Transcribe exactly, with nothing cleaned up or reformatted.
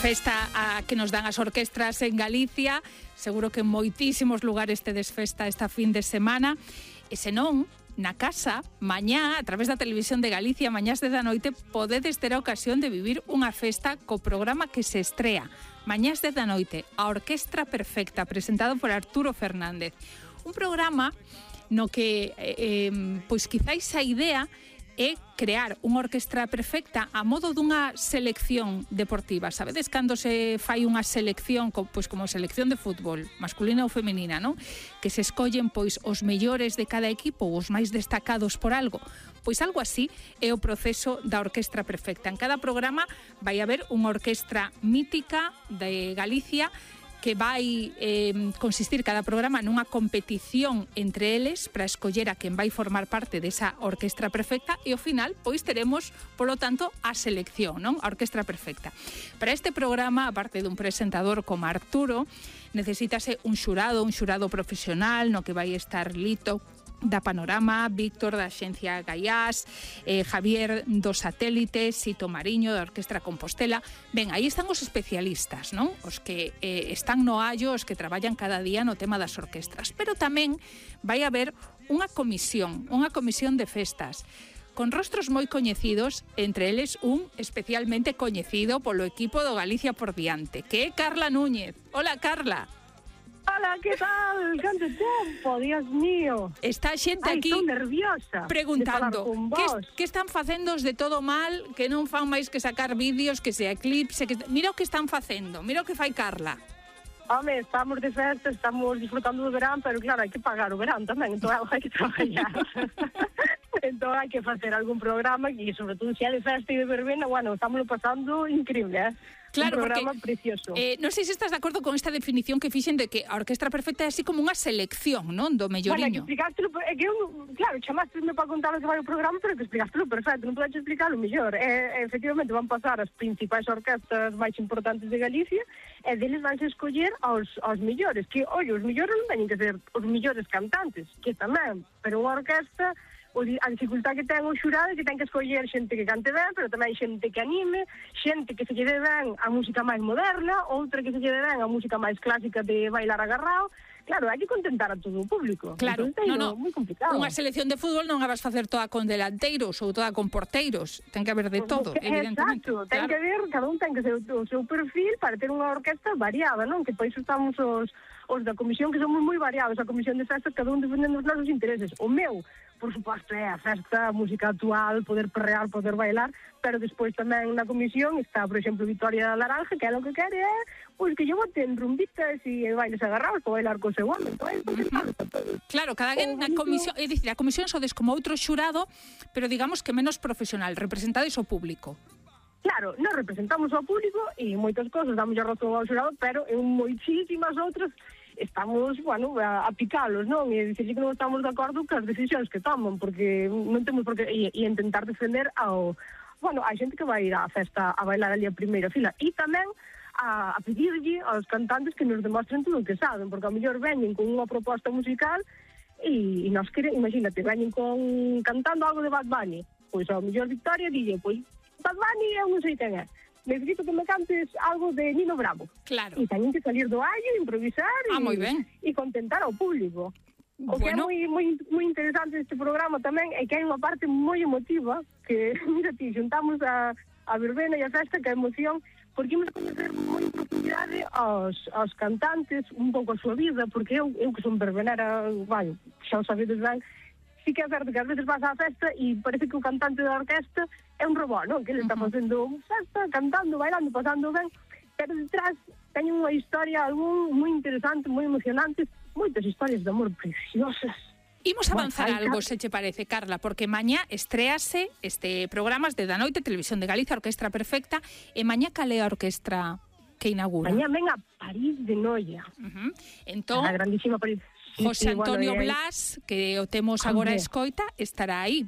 Festa a que nos dan as orquestras en Galicia. Seguro que en moitísimos lugares tedes festa esta fin de semana. E se non, na casa, mañá, a través da Televisión de Galicia, mañás de da noite, podedes ter a ocasión de vivir unha festa co programa que se estrea. Mañás de da noite, a Orquestra Perfecta, presentado por Arturo Fernández. Un programa no que, eh, pois quizáis a idea é crear unha orquestra perfecta a modo dunha selección deportiva. Sabedes cando se fai unha selección, pois como selección de fútbol, masculina ou femenina, non? Que se escollen pois os mellores de cada equipo ou os máis destacados por algo. Pois algo así é o proceso da orquestra perfecta. En cada programa vai haber unha orquestra mítica de Galicia que vai eh, consistir cada programa nunha competición entre eles para escoller a quen vai formar parte desa orquestra perfecta e ao final pois teremos, polo tanto, a selección, non? A orquestra perfecta. Para este programa, aparte dun presentador como Arturo, necesítase un xurado, un xurado profesional no que vai estar Lito da Panorama, Víctor da Axencia Gaiás, eh, Javier do Satélite, Sito Mariño da Orquestra Compostela. Ben, aí están os especialistas, non? Os que eh, están no allo, os que traballan cada día no tema das orquestras. Pero tamén vai haber unha comisión, unha comisión de festas, con rostros moi coñecidos, entre eles un especialmente coñecido polo equipo do Galicia por diante, que é Carla Núñez. Hola, Carla. Hola, que tal? Canto tempo, Dios mío. Está a xente Ai, aquí estou nerviosa preguntando que, vos. que están facendo os de todo mal, que non fan máis que sacar vídeos, que se eclipse, que... Mira o que están facendo, mira o que fai Carla. Home, estamos de festa, estamos disfrutando do verán, pero claro, hai que pagar o verán tamén, entón hai que traballar. Entón hai que facer algún programa e sobre todo se é de festa e de verbena, bueno, estamos pasando increíble, eh? Claro, un programa porque, precioso. Eh, non sei se estás de acordo con esta definición que fixen de que a Orquestra Perfecta é así como unha selección, non? Do melloriño. Bueno, que explicaste, é que eu, claro, chamaste-me para contar o que vai o programa, pero que explicaste perfecto, non podes explicar o mellor. Eh, efectivamente, van pasar as principais orquestas máis importantes de Galicia e deles van a escoller aos, aos mellores, que, oi, os mellores non teñen que ser os mellores cantantes, que tamén, pero unha orquesta, a dificultad que ten o xurado é que ten que escoller xente que cante ben, pero tamén xente que anime, xente que se lle dé ben a música máis moderna, outra que se lle dé ben a música máis clásica de bailar agarrado. Claro, hai que contentar a todo o público. Claro, entón, no, no. Moi complicado. Unha selección de fútbol non a vas facer toda con delanteiros ou toda con porteiros. Ten que haber de todo, Porque, evidentemente. Exacto, ten claro. que ver, cada un ten que ser o seu perfil para ter unha orquesta variada, non? Que para iso estamos os, os da comisión, que somos moi variados. A comisión de festas, cada un defendendo os nosos intereses. O meu, por suposto, é a festa, a música actual, poder perrear, poder bailar, pero despois tamén na comisión está, por exemplo, Victoria Laranja, que é o que quere é pois que lle boten rumbitas e bailes agarrados para bailar co seu home. Entón, uh-huh. Claro, cada quen na comisión, é dicir, a comisión sodes como outro xurado, pero digamos que menos profesional, representades o público. Claro, nos representamos ao público e moitas cosas damos a razón ao xurado, pero en moitísimas outras estamos, bueno, a, a picalos, non? E dicirlle que non estamos de acordo con as decisións que toman, porque non temos por que e, e intentar defender ao, bueno, a xente que vai ir á festa a bailar ali a primeira fila e tamén a, a pedirlle aos cantantes que nos demostren todo o que saben, porque ao mellor veñen con unha proposta musical e, e nos quere, imagínate, veñen con cantando algo de Bad Bunny, pois ao mellor Victoria dille, pois Bad Bunny eu non sei quen é, necesito que me cantes algo de Nino Bravo. Claro. E teñen que salir do allo, improvisar ah, e, e contentar ao público. O que bueno. é moi, moi, moi interesante deste programa tamén é que hai unha parte moi emotiva que, mira ti, xuntamos a, a verbena e a festa, que a emoción, porque imos coñecer moi en profundidade aos, aos cantantes, un pouco a súa vida, porque eu, eu que son verbenera, vai, xa o sabedes ben, sí que é certo que ás veces vas á festa e parece que o cantante da orquesta é un robot, non? Que ele está facendo festa, cantando, bailando, pasando ben, pero detrás teñen unha historia algún moi interesante, moi emocionante, moitas historias de amor preciosas. Imos avanzar bueno, algo, se che parece, Carla, porque mañá estréase este programas de da noite, Televisión de Galicia, Orquestra Perfecta, e mañá cal é a orquestra que inaugura? Mañá ven a París de Noia. Uh-huh. Entón, a grandísima París. José sí, sí, Antonio bueno, Blas, que o temos agora a escoita, estará aí.